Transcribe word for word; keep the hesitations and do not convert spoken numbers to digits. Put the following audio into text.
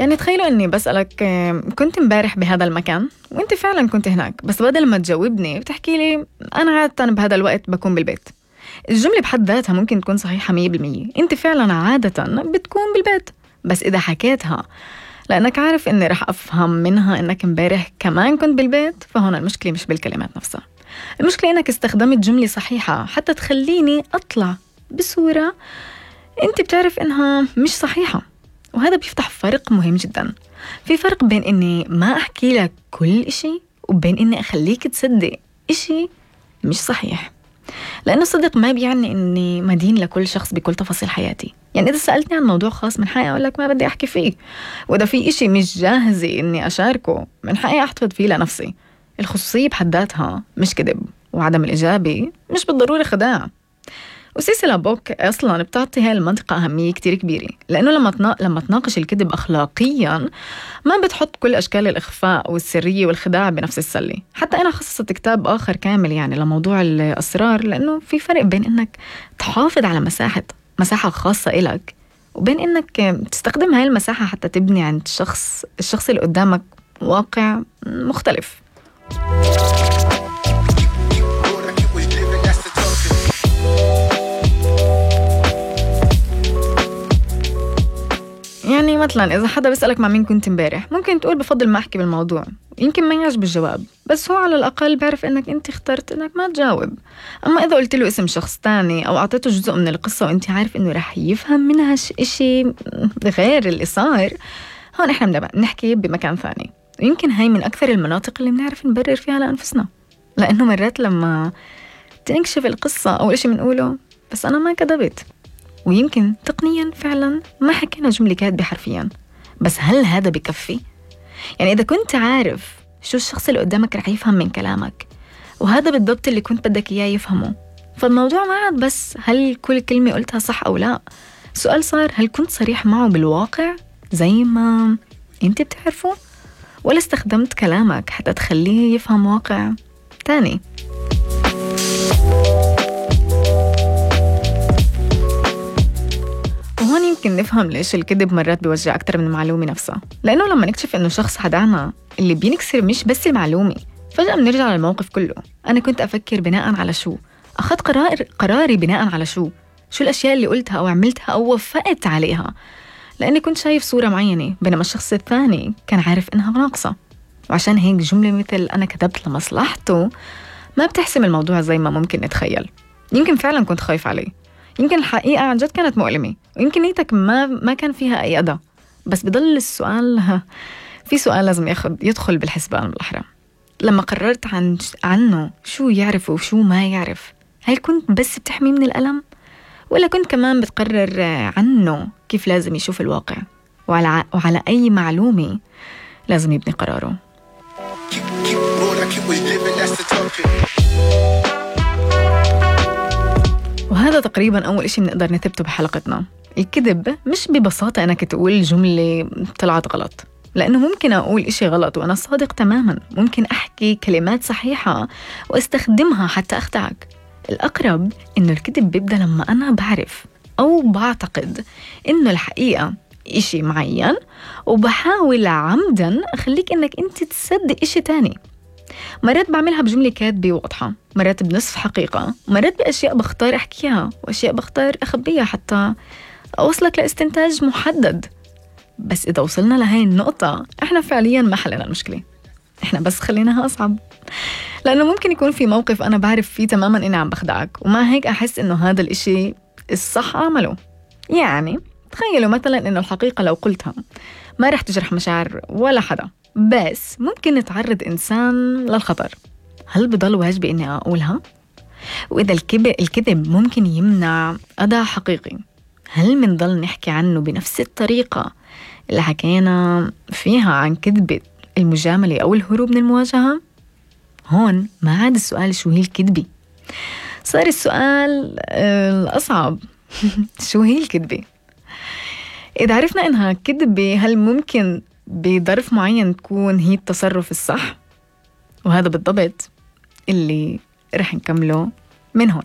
يعني تخيلوا إني بسألك كنت مبارح بهذا المكان وإنت فعلا كنت هناك، بس بدل ما تجاوبني بتحكي لي أنا عادة بهذا الوقت بكون بالبيت. الجملة بحد ذاتها ممكن تكون صحيحة مية بالمية، إنت فعلا عادة بتكون بالبيت، بس إذا حكيتها لأنك عارف إني رح أفهم منها إنك مبارح كمان كنت بالبيت، فهنا المشكلة مش بالكلمات نفسها، المشكلة إنك استخدمت جملة صحيحة حتى تخليني أطلع بصورة أنت بتعرف إنها مش صحيحة. وهذا بيفتح فرق مهم جدا. في فرق بين إني ما أحكي لك كل إشي وبين إني أخليك تصدق إشي مش صحيح. لأنه الصدق ما بيعني إني مدين لكل شخص بكل تفاصيل حياتي. يعني إذا سألتني عن موضوع خاص من حقي أقول لك ما بدي أحكي فيه، وإذا في إشي مش جاهزة إني أشاركه من حقي أحتفظ فيه لنفسي. الخصوصية بحد ذاتها مش كذب، وعدم الإجابة مش بالضرورة خداع. وسيسي بوك أصلاً بتعطي هاي المنطقة أهمية كتير كبيرة، لأنه لما تنا... لما تناقش الكذب أخلاقياً ما بتحط كل أشكال الإخفاء والسرية والخداع بنفس السلة. حتى أنا خصصت كتاب آخر كامل يعني لموضوع الأسرار، لأنه في فرق بين إنك تحافظ على مساحة مساحة خاصة إلك وبين إنك تستخدم هاي المساحة حتى تبني عند الشخص الشخص اللي قدامك واقع مختلف. يعني مثلا إذا حدا بيسألك مع مين كنت مبارح، ممكن تقول بفضل ما أحكي بالموضوع، يمكن ما يعجب الجواب، بس هو على الأقل بعرف إنك أنت اخترت إنك ما تجاوب. أما إذا قلت له اسم شخص تاني أو أعطيته جزء من القصة وأنت عارف إنه رح يفهم منها إشي غير اللي صار، هون إحنا بدنا نحكي بمكان ثاني. ويمكن هاي من أكثر المناطق اللي بنعرف نبرر فيها لأنفسنا، لأنه مرات لما تنكشف القصة أول إشي بنقوله بس أنا ما كذبت، ويمكن تقنيا فعلا ما حكينا جملة كاتبة حرفيا، بس هل هذا بكفي؟ يعني إذا كنت عارف شو الشخص اللي قدامك رح يفهم من كلامك وهذا بالضبط اللي كنت بدك إياه يفهمه، فالموضوع ما عاد بس هل كل كلمة قلتها صح أو لا. السؤال صار هل كنت صريح معه بالواقع زي ما أنت بتعرفه، ولا استخدمت كلامك حتى تخليه يفهم واقع تاني. وهون يمكن نفهم ليش الكذب مرات بيوجع أكتر من المعلومة نفسها، لأنه لما نكتشف إنه شخص خدعنا اللي بينكسر مش بس المعلومة، فجأة بنرجع للموقف كله. أنا كنت أفكر بناء على شو، أخذت قرار قراري بناء على شو شو الأشياء اللي قلتها أو عملتها أو وفقت عليها، لأني كنت شايف صورة معينة بينما الشخص الثاني كان عارف إنها ناقصة. وعشان هيك جملة مثل أنا كذبت لمصلحته ما بتحسم الموضوع زي ما ممكن نتخيل. يمكن فعلا كنت خايف عليه، يمكن الحقيقة عن جد كانت مؤلمة، ويمكن نيتك ما ما كان فيها أي أذى، بس بضل السؤال، في سؤال لازم ياخد يدخل بالحسبان بالأحرى. لما قررت عن عنه شو يعرف وشو ما يعرف، هل كنت بس بتحمي من الألم، ولا كنت كمان بتقرر عنه كيف لازم يشوف الواقع وعلى وعلى أي معلومة لازم يبني قراره؟ وهذا تقريباً أول إشي بنقدر نثبته بحلقتنا. الكذب مش ببساطة أنك تقول جملة طلعت غلط، لأنه ممكن أقول إشي غلط وأنا صادق تماماً، ممكن أحكي كلمات صحيحة واستخدمها حتى أخدعك. الأقرب إنه الكذب بيبدأ لما أنا بعرف أو بعتقد إنه الحقيقة إشي معين وبحاول عمداً أخليك إنك أنت تصدق إشي تاني. مرات بعملها بجملة كاتبة واضحة، مرات بنصف حقيقة، مرات بأشياء بختار أحكيها وأشياء بختار أخبيها حتى أوصلك لاستنتاج محدد. بس إذا وصلنا لهاي النقطة إحنا فعلياً ما حلنا المشكلة، إحنا بس خليناها أصعب، لأنه ممكن يكون في موقف أنا بعرف فيه تماماً إني عم بخدعك وما هيك أحس إنه هذا الإشي الصح أعمله. يعني تخيلوا مثلاً إنه الحقيقة لو قلتها ما رح تجرح مشاعر ولا حدا، بس ممكن نتعرض إنسان للخطر، هل بضل واجبي إني أقولها؟ وإذا الكذب الكذب ممكن يمنع أذى حقيقي، هل منضل نحكي عنه بنفس الطريقة اللي حكينا فيها عن كذبة المجاملة أو الهروب من المواجهة؟ هون ما عاد السؤال شو هي الكذبة، صار السؤال الأصعب شو هي الكذبة؟ إذا عرفنا إنها كذبة، هل ممكن بظرف معين تكون هي التصرف الصح؟ وهذا بالضبط اللي رح نكمله من هون.